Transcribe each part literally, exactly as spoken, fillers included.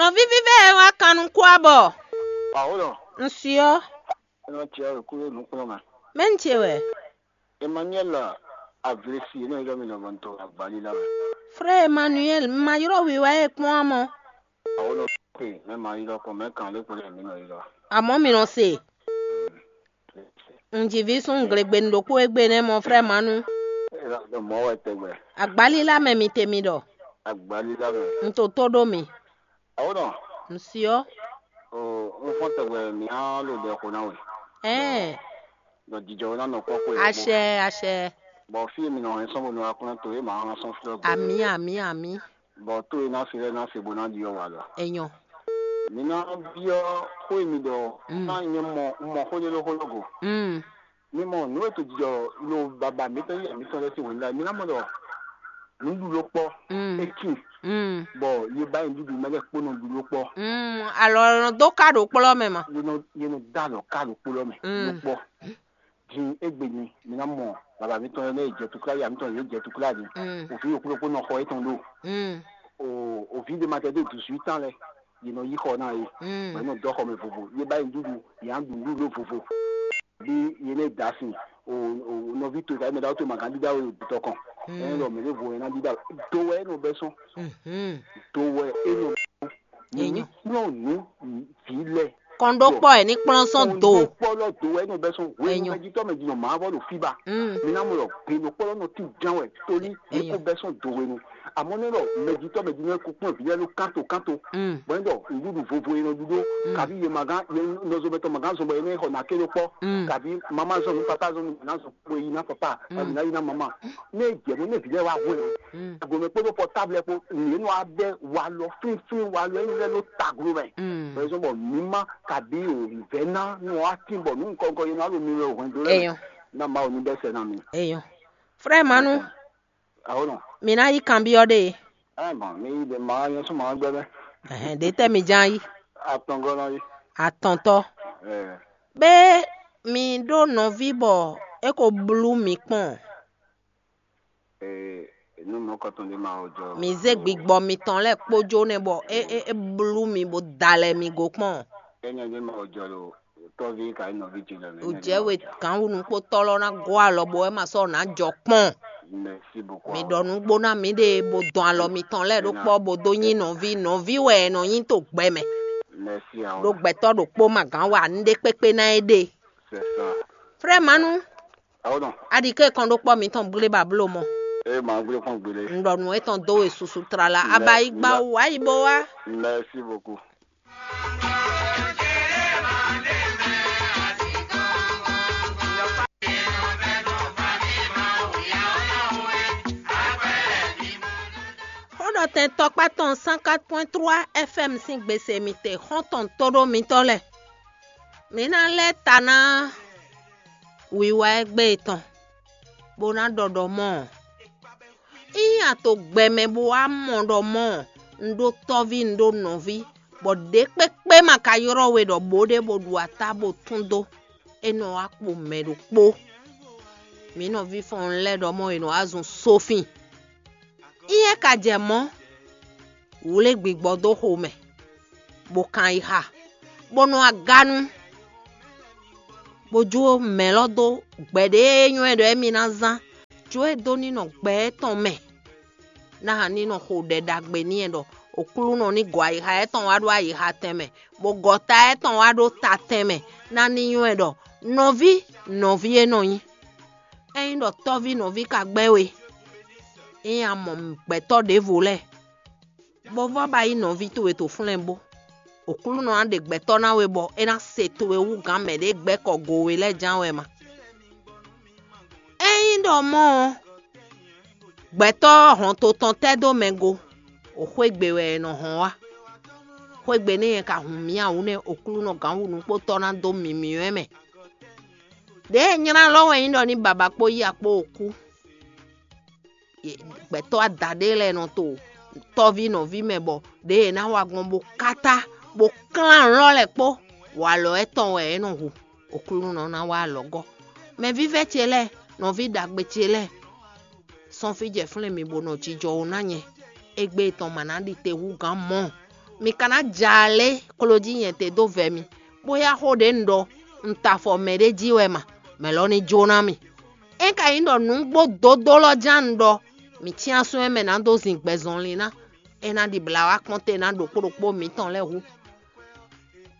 Nɔví vívɛ́ e wá kan nukún abɔ. Pawolo, un syɔ. Eno tiɛ wekúɖo nukplɔ́n mɛ. Mɛ̌ un ce wɛ? Emmanuel Avresi, eno ylɔ́ mi lɔbɔ to agbalí la mɛ. Frère Emmanuel, un ma ylɔ́ we wá e kpɔ́n amɔ. Pawolo, pe mɛ ma ylɔ́ kɔ mɛ kan lé kpɔ́n mi nɔ ylɔ́. Amɔ̌ mi nɔ se. Un ji vǐ súnnu glegbe ɖokpó égbé nɛ́ mɔ frère Manu. Mɔ̌ wɛ tɛgbɛ. Agbalílá mɛ mi te mi ɖɔ. Agbalílá mɛ. Un to tó ɖó mi. Awo nɔ. Un syɔ. O, un fɔ́n tɛgbɛ mǐ á lo ɖɛ xo ná we. Ɛɛ. Ɖɔ jijɔ ná nɔ kpɔ́ xwe. Aṣɛ, aṣɛ. Bɔ fí e mi nɔ hɛn sɔ́ bónú wá kplɔ́n to é mǎ hán sɔ́ flɔ́ gbé. Amǐ, amǐ, amǐ. Bɔ tó e ná se lɛ́ɛ ná se bó ná ɖyɔ́ wa lɔ. Enyɔ. Mi ná byɔ́ xó e mi ɖɔ ná nyɛ mɔ mɔ xó nyɛ́ɖɔ́ xó lɔ go. Mm. Mi mɔ nǔ e to jijɔ lo baba mǐtɔn yi mǐtɔn lɛ́ɛ sín hwenu lɛ́ɛ mi ná mɔ ɖɔ nǔɖuɖu ló kpɔ́. Mm. É tíin. Mm. Bɔ ye ba yi nǔɖuɖu mɛ lɛ́ɛ kpó nɔ ɖu ló kpɔ́. Mm. Alɔ nɔ dó ká ɖo kplɔ́ mɛ ma. Ye nɔ ye nɔ dá alɔ ká ɖo kplɔ́ mɛ. Mm. Ló kpɔ́. Din égbé ni mi ná mɔ baba mǐtɔn lɛ́ɛ jɛ tukla ya mǐtɔn yě jɛ tukla ni. Mm. Òfin yòókù ló kpó nɔ xɔ étɔn ɖo. Mm. O òfin de ma tɛ dé dix-huit ans lɛ yě nɔ yí xɔ ná yé. Mm. Bɔ yě nɔ dɔ́ xɔ mɛ vovo yé ba yi nǔɖuɖu yě á ɖu nǔɖuɖu vovo. Bí yě lɛ́ da sin o o nɔví to ka mɛ ɖawo to ma gán dídá o tɔ kɔn. Mm. Ɛn lɔ mɛ lé vo yẹn ná dídá o do wɛ é nɔ bɛ sɔn. Mhm. Do wɛ é nɔ bɛ sɔn. Mǐ ní kplɔ́n nǔ vǐ lɛ́ɛ. Kɔnɖókpɔ́ ɛ ní kplɔ́n sɔn do. Kɔnɖókpɔ́ lɔ do wɛ é nɔ bɛ sɔn hwenu mɛjitɔ́ mɛ jìnnà mǎ vɔ ɖo fíba. Mm. Mǐ ná mɔ ɖɔ gbe nɔ kpɔ́ lɔ nɔ tín ján wɛ tóní ní kó bɛ sɔn do hwenu. Àmọ́ ní ɖɔ mɛjitɔ́ mɛ jìnnà kó kplɔ́n vǐ lɛ́ɛ ló kánto kánto. Mm. Bɔn ní ɖɔ nǔɖuɖu vovo e nɔ ɖu ɖó kaví ye ma gán ye nɔzɔmɛtɔ́ ma gán zɔn bɔ ye ní xɔ nǎ ké ɖó kpɔ́. Mm. Kaví mamá zɔn nú papá zɔn nú mǐ ná zɔn kpo yi ná papá kaví ná yi ná mamá. Ní e jɛ mɔ ní e vǐ lɛ́ɛ wá hwɛ. Mm. Agomɛ kpódó pɔtáblɛ kpó nǔ e nɔ wá bɛ walɔ fínfín walɔ e lɛ́ ló taglo mɛ. Mm. Bɛzɔn bɔ mǐ má kaví o vɛ̌ ná nú wá tín bɔ nǔ nukɔn nukɔn yi ná ɖo mi wɛ o hwɛndo lɛ́ɛ Eyɔn. Ná Mawu ní bɛ́ sɛ ná mi. Eyɔn. Frère Manu, Awo nɔ. Mi ná yí kanbyɔ́ ɖe. Ɛ mɔ mi yi ɖe ma nyɛ sún ma gbɛ mɛ. Ɛhɛn, ɖe tɛ mi ján yí. Atɔngɔ nɔ yi. Atɔntɔ. Ɛ. Be mi ɖó nɔví bɔ é ko blú mi kpɔn. Ee, nu mɔkɔtɔn ɖé ma wɔ jɔ. Mi zé gbigbɔ mitɔn lɛ́ɛ kpójó nɛ́ bɔ é é é blú mi bó da lɛ mi go kpɔn. Énɛ́ ɖé ma wɔ jɔ lo tɔ́ví ka nyí nɔví ce lɛ́ɛ mɛ. Ò jẹ́ we gǎnwunukpótɔ́ lɔ ná gɔ́ alɔ bɔ é ma sɔ́ nǎ jɔ kpɔn. Merci beaucoup. Mi ɖɔ nǔgbó ná miɖée bó dɔn alɔ mitɔn lɛ́ɛ ɖó kpɔ́ bó dó nyí nɔví nɔví wɛ è nɔ nyí to gbɛ mɛ. Merci awo. Ɖó gbɛtɔ́ ɖokpó ma gǎn wa nǔɖé kpékpé ná é ɖe. C'est ça. Frère Manu. Awo nɔ. Aɖi ké kɔn ɖó kpɔ́ mitɔn gblé ba bló mɔ. Ee ma gblé kpɔn gblé. Un ɖɔ nǔ étɔn dó we susu tlala. Aba yi gba wú ayi bó wá. Merci beaucoup. Xó ɖɔ tɛn tɔkpá tɔn cent quatre point trois F M sín gbèsè mi te xɔ́ntɔn tóɖó mitɔ́ lɛ́ɛ. Mǐ ná lɛ́ ta ná wiwa e gbé e tɔn, bó ná ɖɔ ɖɔ mɔ́ ɔ́. Ényí a to gbɛ mɛ bó wá mɔ ɖɔ mɔ́ ɔ́, un ɖó tɔ́ví, un ɖó nɔví, bɔ ɖě kpékpé ma ka ylɔ́ we ɖɔ bǒ ɖé bó ɖu atá bó tún dó, é nɔ wá kpo mɛ ɖokpó. Mǐ nɔví fɔ́n lɛ́ɛ ɖɔ mɔ́ è nɔ wá zun sófin. Ényí é ka jɛ mɔ̌, wlé gbigbɔ dó xo mɛ, bó kan yi xa, bó nɔ aganu, bó jó mɛ̌ lɔ dó gbɛ̌ ɖé e nywɛ́ ɖɔ émí ná zán, jó e dó ní nɔ gbɛ étɔn mɛ. Ná ní nɔ xo ɖɛ ɖagbe n'i ɖɔ Oklúnɔ ní gɔ ayixa étɔn wá ɖó ayixa tɛn mɛ, bó gɔ ta étɔn wá ɖó ta tɛn mɛ, ná ní nywɛ́ ɖɔ nɔví nɔví é nɔ nyí. Ényí ɖɔ tɔ́ví nɔví ka gbɛ́ we, ényí a mɔ gbɛtɔ́ ɖěvo lɛ́ɛ, bó vɔ́ ba yí nɔví towe to flɛ́nbó. Oklúnɔ ná ɖe gbɛtɔ́ ná we bɔ é ná se towe wú gǎn mɛ ɖě gbɛ́ kɔ go we lɛ́ɛ ján wɛ ma. Ényí ɖɔ mɔ̌ ɔ́, gbɛtɔ́ hɔn to tɔn tɛ́ dó mɛ go, o xwé gbe wɛ è nɔ hɔn wá. Xwé gbe nɛ́ nyɛ ka hun mǐ ǎ wú nɛ́ Oklúnɔ gǎn wu nukpótɔ́ ná dó mǐmíwɛ́ mɛ. Đěe nylá lɔ́ wɛ nyí ɖɔ ní baba kpó yí akpó o kú. Gbɛtɔ́ adaɖé lɛ́ɛ nɔ to tɔ́ví nɔví mɛ bɔ ɖěe è nǎ wa gbɔn bó kátá bó klán lɔ́ lɛ́ɛ kpó walɔ étɔn wɛ é nɔ hu. Oklúnɔ ná wá alɔgɔ́. Mɛ vívɛ́ ce lɛ́ɛ, nɔví ɖagbe ce lɛ́ɛ, sɔ́n fí jɛ flɛ́n mi bó nɔ jijɔ wú ná nyɛ. Égbé tɔn ma ná ɖi te hú gǎn mɔ̌. Mi ka ná ja alé kló jí nyɛ te dó vɛ mi, bó yá xó ɖě un ɖɔ un ta afɔ mɛɖé jí wɛ ma, mɛ̌ lɔ ní jó ná mì. É ka nyí ɖɔ nǔgbó dodó lɔ ján un ɖɔ, mǐ cyán sún ɛmɛ ná dó zin gbɛzɔnlin ná, é ná ɖi blǎ wá kpɔ́n te ná ɖokpó ɖokpó mǐtɔn lɛ́ɛ hu.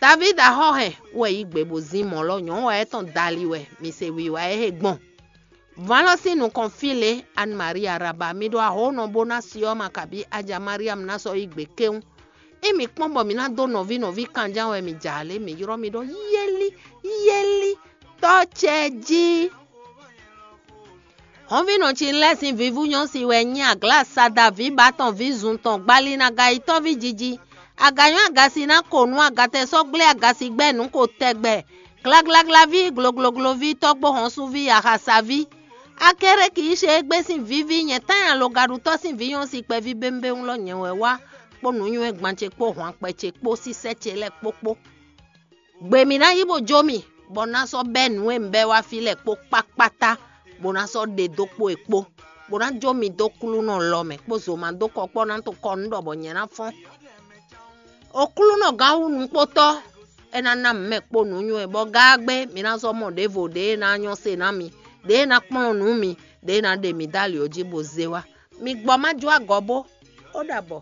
Davídi axɔ́ hɛn wɛ yí gbe bó zín mɔ̌ lɔ, nyɔ̌nu wɛ é tɔn dali wɛ, mi se wiwa e he gbɔn. Vǎn lɔ sín nukɔn fí lě, Anne Marie Araba, mi ɖo ahǒnɔ bó ná si ɔ́ ma kabí aja Mariam ná sɔ́ yí gbe kéwún. Ényí mǐ kpɔ́n bɔ mǐ ná dó nɔví nɔví kanján wɛ mǐ jǎ lě, mǐ ylɔ́ mi ɖɔ yéli, yéli, tɔ́ ce jí. Hɔnvínɔ ce lɛ́ sín vǐvú nyɔ́ si wɛ nyí aglá sada vǐ batɔn vǐ zun tɔn gbali ná ga yi tɔ́ví jiji. Aga nyɔ́ aga si ná ko nú agatɛ sɔ́ gblé aga si gbɛ́ nǔ ko tɛgbɛ. Glaglaglaví, gloglogloví, tɔ́gbó hɔnsuví, axasaví. Akéré kì í ṣe égbé sín vǐví, nyɛ tán alogaɖutɔ́ sín vǐ nyɔ́ si kpɛví bémbéwún lɔ nyɛ wɛ wá kpó nǔnywɛ́ gban ce kpó hwankpɛ ce kpó sísɛ́ ce lɛ́ɛ kpókpó. Gbe mǐ ná yí bó jó mì, bɔ ná sɔ́ bɛ́ nǔ e un bɛ́ wá fí lɛ́ɛ kpó kpákpátá, bó ná sɔ́ ɖe dó kpo e kpó, bó ná jó mi dó klúnɔ lɔ mɛ kpó zomado kɔkpɔ́ ná to kɔ nú ɖɔ bɔ nyɛ ná fɔ́n. Oklúnɔ gán wú nukpótɔ́, é ná ná mǐ mɛ kpó nǔnywɛ́, bɔ gáágbé mi ná zɔ́ mɔ ɖěvo ɖě e ná nyɔ́ se ná mi, ɖě e ná kplɔ́n nǔ mi, ɖě e ná ɖe mi dó ali ɔ́ jí bó zé wá. Mi gbɔ má jó agɔ bó. Ó ɖabɔ.